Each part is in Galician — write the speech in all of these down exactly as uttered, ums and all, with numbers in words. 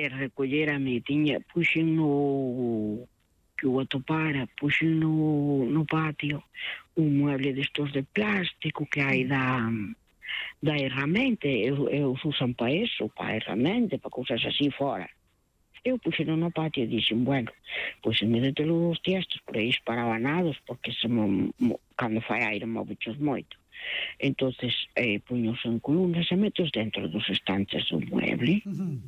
e recollérame, tiña, puxen no, que o atopara, puxen no, no patio un mueble destos de plástico que hai da, da herramienta, e os usan para eso, para herramienta, para cousas así fora. Eu puxen no patio e dixen, bueno, pois en vez de ter os tiestos por aí esparabanados, porque se mo, mo, cando fai aire movichos moito, entonces eh, puños en columnas e metos dentro dos estantes do mueble. Uh-huh.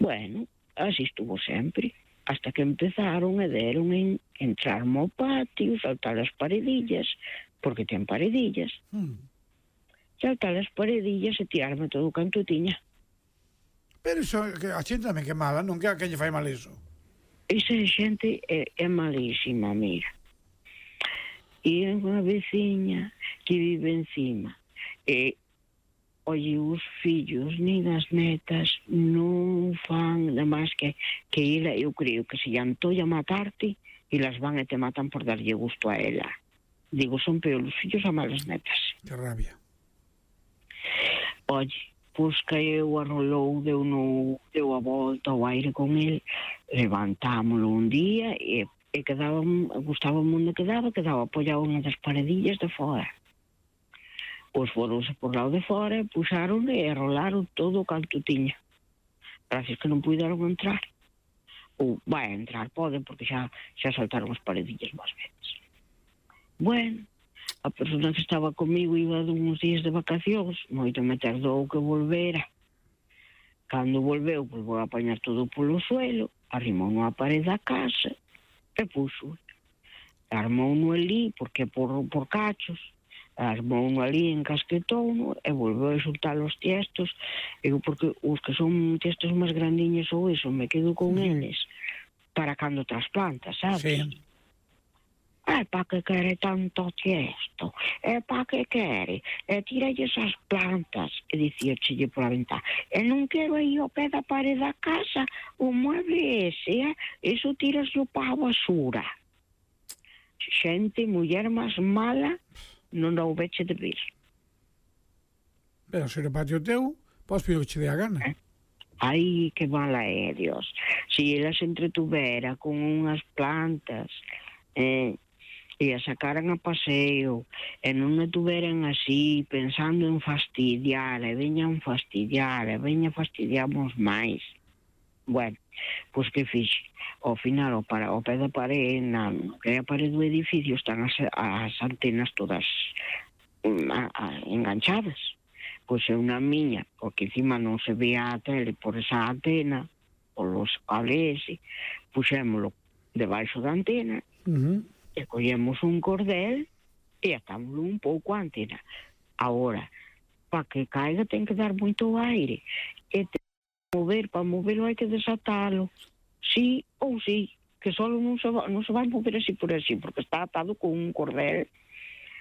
Bueno, así estuvo sempre, hasta que empezaron e deron en entrar mo patio, saltar as paredillas, porque ten paredillas, uh-huh. saltar as paredillas e tirarme todo o canto tiña. Pero iso, a xente tamén que é mala, non que a que lle fai mal iso? Esa xente é, é malísima, mira. E é unha veciña que vive encima, e oye, os fillos nin as netas non fan nada máis que, que ela, eu creo que se lle antolla matarte e las van e te matan por darlle gusto a ela. Digo, son peor os fillos a malas netas. Que rabia. Oye, pois caeu, arrolou, deu, no, deu a volta ao aire con el, levantámoslo un día e, e quedaba, gustaba onde quedaba, quedaba apoiado unha das paredillas de fora. Pois foronse por lado de fora, puxaron e arrolaron todo o canto tiña. Gracias que non puderon entrar. Ou, vai, entrar poden, porque xa, xa saltaron as paredillas máis veces. Bueno, a persona que estaba comigo iba de uns días de vacacións, moito me tardou que volvera. Cando volveu, pois vou a apañar todo polo suelo, arrimou nunha parede da casa e puxo. Armou no ali, porque por, por cachos, armou no ali, encasquetou e volveu a xuntar os tiestos. Eu, porque os que son tiestos máis grandiños ou iso, me quedo con eles para cando trasplantas, sabes? Sí. É pa que quere tanto tiesto, é pa que quere, e tiralle esas plantas, e dicía chille pola ventá, e non quero aí ao pé da parede da casa o mueble ese, eh? Eso tiraslo pa a basura. Xente, muller máis mala, non o veche de ver. Pero se no patio teu, podes pedir o que che dé a gana. Eh? Ai, que mala é, Dios. Si ela se entretuvera con unhas plantas, eh, e a sacaran a paseo, e non a tuveran así, pensando en fastidiar, e veñan fastidiar, e veña fastidiamos máis. Bueno, pois que fixe? Ao final, ao, para, ao pé da parede, na, que é a parede do edificio, están as, as antenas todas a, a, enganchadas. Pois é unha miña, porque encima non se vea a tele por esa antena, por los cables, puxémolo debaixo da antena, uh-huh. e collemos un cordel e atámoslo un pouco a antena. Agora, para que caiga ten que dar moito aire, e ten que mover, para moverlo hai que desatalo, sí ou sí, que só non se, va, non se vai mover así por así, porque está atado con un cordel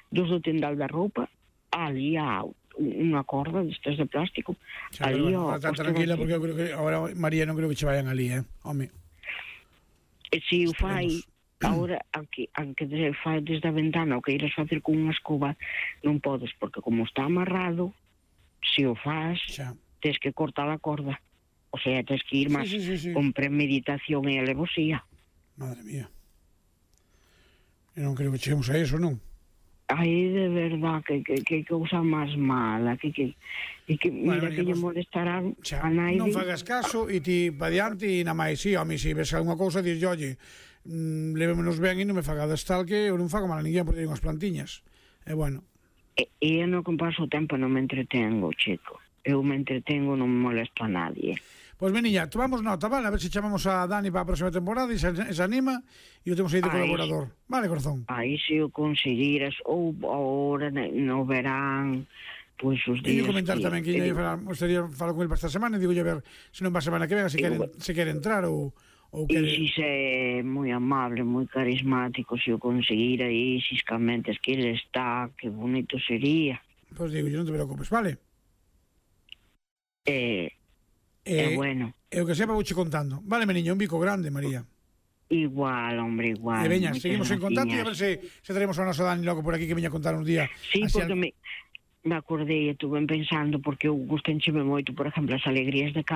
dos do tendal da roupa, ali a unha corda destes de plástico. Sí, ali, bueno, ó, está tranquila, porque eu creo que agora María non creo que che vayan ali, eh, home. E si o fai, agora, aunque, aunque fai desde a ventana o que iras facer con unha escoba, non podes, porque como está amarrado, se o faz, xa, tens que cortar a corda. O sea, tens que ir máis sí, sí, sí, sí. con premeditación e alevosía. Madre mía. Eu non creo que cheguemos a eso, non? Ai, de verdad, que, que, que cousa máis mala, que, que, que, que mira, bueno, que lle molestarán a naide. Non fagas caso e ti pa diante e na máis, sí, a mí, se ves alguna cousa, dís, oye, mm, levémonos ben e non me fagades tal que eu non fago mal a ninguén por ter unhas plantiñas. E bueno. E, e eu non, con paso o tempo non me entretengo, chico. Eu me entretengo, non me molesto a nadie. Pois, meniña, tomamos nota, vale? A ver se chamamos a Dani para a próxima temporada e se, se anima e o temos aí de ai, colaborador. Vale, corazón? Aí se o conseguiras, ou agora no verán, pois os días... E comentar que, tamén que lle gustaría falar con ele para esta semana e digo a ver se non va a semana que venga, se quere, se quere entrar ou... ou quere... E si se é moi amable, moi carismático, se o conseguira aí, xiscamente, es que ele está, que bonito sería. Pois digo, non te preocupes, vale? Eh... Eh, eh, bueno. E o que sepa vouche contando. Vale, meniño, un bico grande, María. Igual, hombre, igual. E veña, seguimos en contacto e a ver se, se traemos a nosa Dani logo por aquí que veña a contar un día. Sí, porque al... me, me acordei e estuve pensando, porque eu gustencheme moito, por exemplo, as alegrías de casa.